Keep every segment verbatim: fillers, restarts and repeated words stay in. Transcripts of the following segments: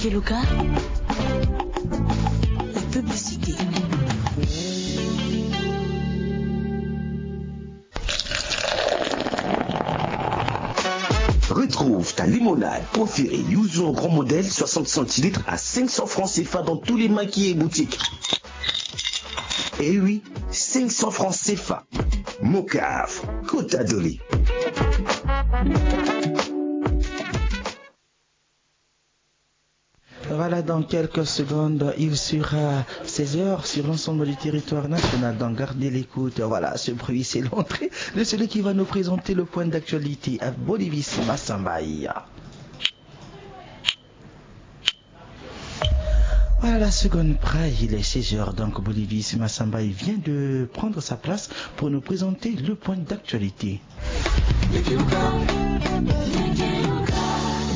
Keluka, la publicité. Retrouve ta limonade préférée Yuzu en grand modèle, soixante centilitres à cinq cents francs C F A dans tous les maquis et boutiques. Eh oui, cinq cents francs C F A. Mocaf, Kota Doli. Voilà, dans quelques secondes, il sera seize heures sur l'ensemble du territoire national. Donc, gardez l'écoute. Voilà, ce bruit, c'est l'entrée de celui qui va nous présenter le point d'actualité à Bolivis Massambaye. Voilà, la seconde près, il est seize heures. Donc, Bolivis Massambaye vient de prendre sa place pour nous présenter le point d'actualité.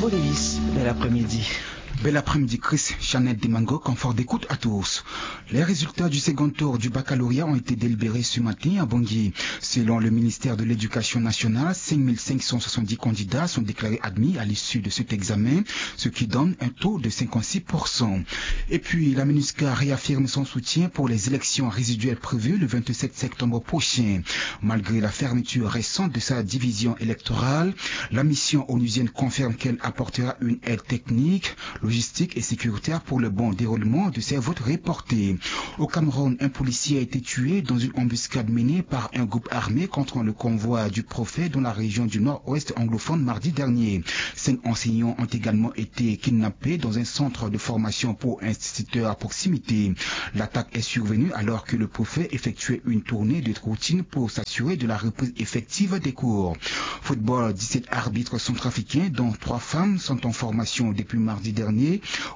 Bolivis, bel après-midi. Bel après-midi, Chris, Chanel Demango, confort d'écoute à tous. Les résultats du second tour du baccalauréat ont été délibérés ce matin à Bangui. Selon le ministère de l'Éducation nationale, cinq mille cinq cent soixante-dix candidats sont déclarés admis à l'issue de cet examen, ce qui donne un taux de cinquante-six pour cent. Et puis, la MINUSCA réaffirme son soutien pour les élections résiduelles prévues le vingt-sept septembre prochain. Malgré la fermeture récente de sa division électorale, la mission onusienne confirme qu'elle apportera une aide technique, logistique et sécuritaire pour le bon déroulement de ces votes reportés. Au Cameroun, un policier a été tué dans une embuscade menée par un groupe armé contre le convoi du prophète dans la région du nord-ouest anglophone mardi dernier. Cinq enseignants ont également été kidnappés dans un centre de formation pour instituteurs à proximité. L'attaque est survenue alors que le prophète effectuait une tournée de routine pour s'assurer de la reprise effective des cours. Football, dix-sept arbitres centrafricains, dont trois femmes, sont en formation depuis mardi dernier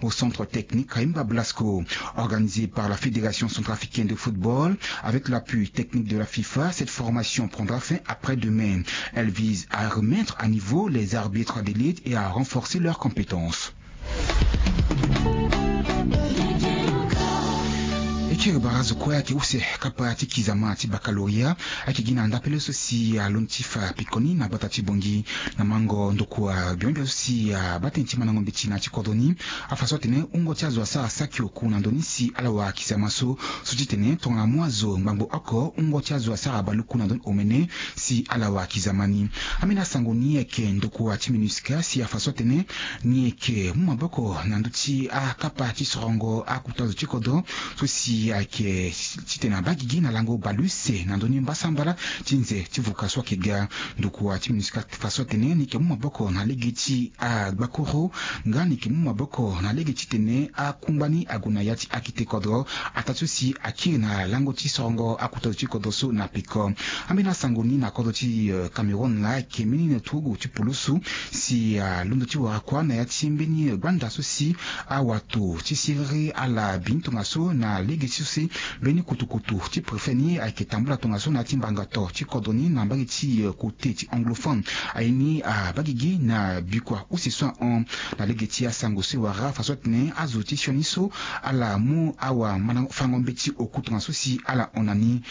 au centre technique Kaimba Blasco, organisé par la Fédération centrafricaine de football. Avec l'appui technique de la FIFA, cette formation prendra fin après-demain. Elle vise à remettre à niveau les arbitres d'élite et à renforcer leurs compétences. E kiri barazo kue ayeke use kapa ti kizama ti baccalauréat, ayeke gi na ndapele so si alondo ti fa pekoni na gbata ti Bangui. Na mango ndokua bion bion so si abaa tënë ti mandango mbeti na ya ti kodro ni, afa so atene wungo ti azo asara saki oku na ndö ni si ala wara kizama so. So ti tene tongana mu azo ngbangbo oko, wungo ti azo asara baleoku na ndö ni omene si ala wara kizama ni. Ambeni asango ni ayeke ndokua ti MINUSCA si afa so atene ni yeke mu maboko na ndö ti akapa ti sorongo akuta zo ti kodro so si ayeke titene abaa gigi na lango baleuse na ndö ni mbasambala ti nze ti vuka so ayeke ga. Ndokua ti MINUSCA fa so atene ni yeke mu maboko na lege ti agbakuru nga ni yeke mu maboko na lege titene akungba ni ague na ya ti akete kodro ataa ti so si akiri na lango ti sorongo akuta zo ti kodro so na peko. Ambeni asango ni na kodro ti Cameroun laa ayeke mbeni na turugu ti pulusu si alondo ti wara kuâ na ya ti mbeni gbanda so si awato ti siriri ala bi ni tongaso na lege ti so si mbeni kutukutu ti préfet ni ayeke tambula tongaso na ya ti mbanga to ti kodro ni na mbage ti kote ti anglophone. Aye ni abaa gigi na bikua use so ahon na lege ti asango so e wara fa so atene azo ti sioni so ala mu awafango mbeti oku tongaso si ala hon na ni.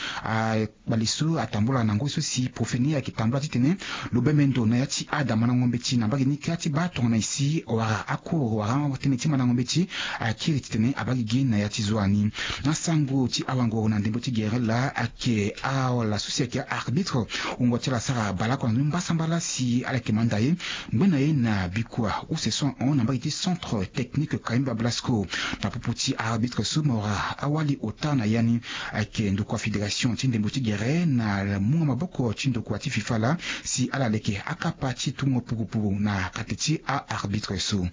Kpale so atambula na ngoi so si préfet ni ayeke tambula titene lo bembe ndo na ya ti adamandango mbeti na mbage ni kâ ti baa tongana e si wala akuru wala tënë ti mandango mbeti akiri titene abaa gigi na ya ti zoa ni. Na sango ti awanguru na ndembo ti gere laa ayeke ala so si ayeke aarbitre wungo ti ala asara baleoko na ndö ni mbasambala si ala yeke manda ye ngbe na ye na bikua use so ahon na mbage ti centre technique Kaimba Blasco. Na popo ti aarbitre so mo wara awali ota na ya ni ayeke ndokua fédération ti ndembo ti gere na mungo maboko ti ndokua ti FIFA laa si ala leke akapa ti tungo pukupuku na kate ti aarbitre so.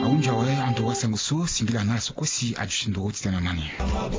Ahunzi awe ando wasango so singila na ala so kue si aduti nduru titene na ni.